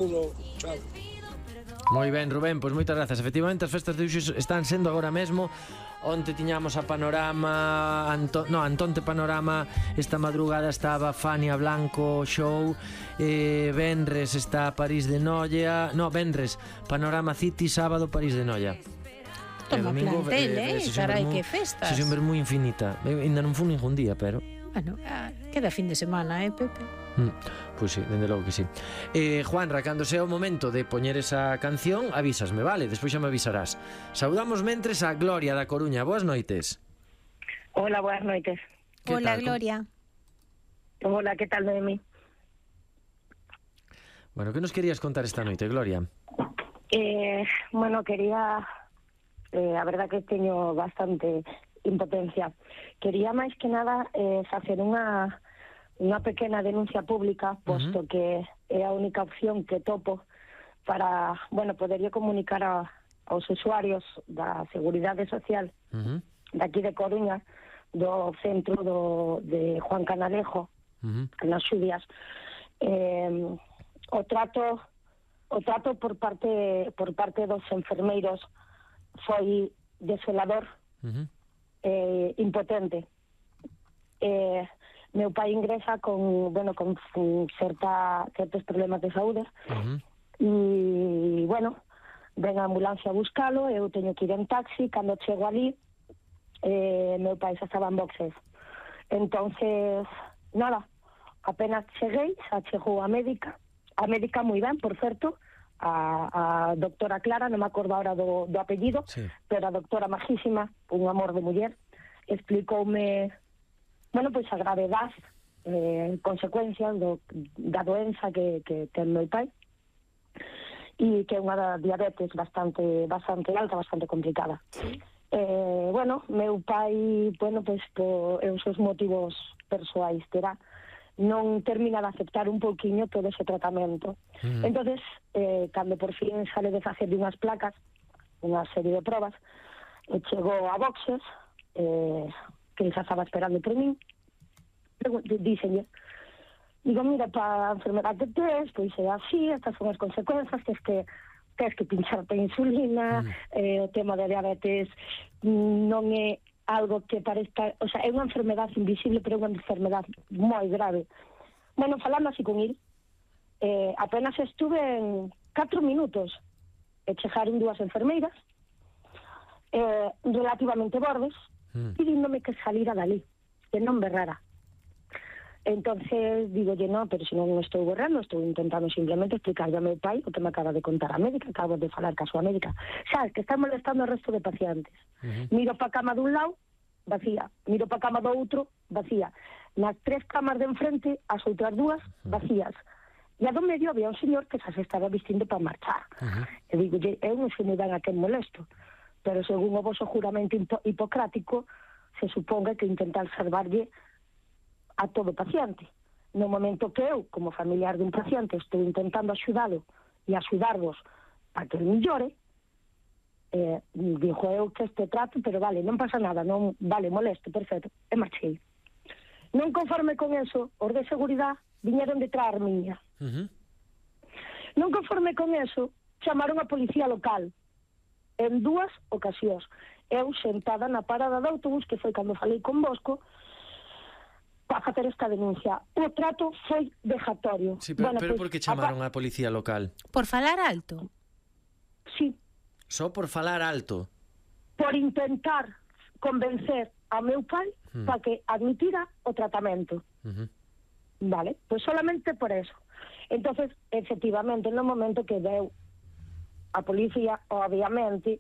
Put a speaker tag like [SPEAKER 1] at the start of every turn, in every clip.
[SPEAKER 1] Chao.
[SPEAKER 2] Moi ben, Rubén, pois moitas grazas. Efectivamente, as festas de hoxe están sendo agora mesmo. Onte tiñamos a Panorama, Antonte Panorama. Esta madrugada estaba Fania Blanco Show. Venres está París de Noia. No, Venres, Panorama City. Sábado, París de Noia.
[SPEAKER 3] Toma plantel, carai, que festas.
[SPEAKER 2] Sesión moi infinita. Ainda non fun ningún día, pero...
[SPEAKER 3] Bueno, queda fin de semana, Pepe?
[SPEAKER 2] Pois sí, dende logo que sí. Juanra, cando sea o momento de poñer esa canción, avísasme, vale? Despois xa me avisarás. Saudamos mentres a Gloria da Coruña. Boas noites.
[SPEAKER 4] Hola, buenas noites.
[SPEAKER 3] Hola, Gloria.
[SPEAKER 4] Hola, que tal, Noemi?
[SPEAKER 2] Bueno, que nos querías contar esta noite, Gloria?
[SPEAKER 4] Bueno, quería... a verdad que teño bastante impotencia. Quería máis que nada facer unha pequena denuncia pública, posto que é a única opción que topo para, bueno, poderlle comunicar aos usuarios da Seguridade Social daqui de Coruña, do centro de Juan Canalejo, nas Xudias. O trato por parte dos enfermeiros foi desolador, impotente. Meu pai ingresa con certos problemas de saúde e, bueno, ven a ambulancia a buscalo, eu teño que ir en taxi. Cando chego ali, meu pai xa estaba en boxes. Entonces, nada, apenas cheguei, xa chegou a médica moi ben, por certo, a doctora Clara, non me acordo ahora do apellido, sí, pero a doctora majísima, un amor de muller, explicoume, bueno, pois a gravedade, consecuencias da doenza que ten meu pai, e que é unha diabetes bastante alta, bastante complicada. Sí. Bueno, meu pai, bueno, pois por os seus motivos persoais terá, non termina de aceptar un pouquiño todo ese tratamento. Entonces, cando por fin sale de facer unhas placas, unha serie de probas, chegou a boxes, que xa estaba esperando por min, díxenlle, digo, mira, para a enfermedade que tes, pois é así, estas son as consecuencias, que tens que pincharte a insulina, o tema da diabetes non é algo que parezca, o sea, é unha enfermedade invisible, pero é unha enfermedade moi grave. Bueno, falando así con él, apenas estuve en 4 minutos, e chegaron dúas enfermeiras, relativamente bordes, pidíndome que salira dali, que non berrara. Entonces, digolle, no, pero se non estou borrando, estou intentando simplemente explicarle a meu pai o que me acaba de contar a médica, acabo de falar ca súa médica. Sabes, que está molestando ao resto de pacientes. Miro pa cama dun lado, vacía. Miro pa cama do outro, vacía. Nas 3 camas de enfrente, as outras 2, vacías. E a do medio había un señor que xa se estaba vistindo para marchar. E digo, eu non sei moi ben a quen molesto, pero según o vosso juramento hipocrático, se suponga que intentar salvarlle a todo paciente. No momento que eu, como familiar dun paciente, estou intentando axudalo e axudarvos para que el millore, dixo eu que este trato, pero vale, non pasa nada, non vale, molesto, perfecto, e marchei. Non conforme con eso, os de seguridade viñeron detrás miña. Non conforme con eso, chamaron a policía local en 2 ocasións. Eu sentada na parada de autobús, que foi cando falei con Bosco, para facer esta denuncia. O trato foi vexatorio.
[SPEAKER 2] Sí, pero por que chamaron a policía local?
[SPEAKER 3] Por falar alto?
[SPEAKER 4] Sí.
[SPEAKER 2] Só por falar alto?
[SPEAKER 4] Por intentar convencer a meu pai para que admitira o tratamento. Vale, pues solamente por eso. Entonces, efectivamente, no momento que veu a policía, obviamente,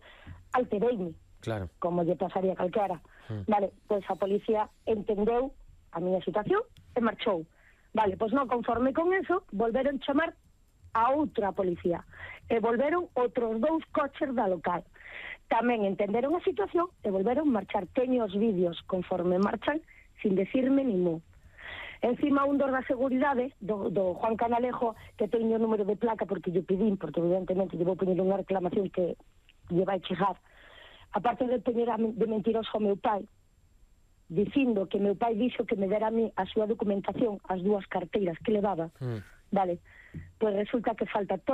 [SPEAKER 4] altereime.
[SPEAKER 2] Claro.
[SPEAKER 4] Como lle pasaría calquera. Vale, pues a policía entendeu a miña situación e marchou. Vale, pois non conforme con eso, volveron chamar a outra policía e volveron outros 2 coches da local. Tamén entenderon a situación e volveron marchar. Teño os vídeos conforme marchan sin decirme ni mu. Encima un dos da seguridade do Juan Canalejo, que teño o número de placa porque lle pedín, porque evidentemente lle vou poñer unha reclamación que lle vai chegar, aparte de poñer de mentiroso ao meu pai, dicindo que meu pai dixo que me dera a mí a súa documentación, as 2 carteiras que levaba, vale, pois resulta que falta todo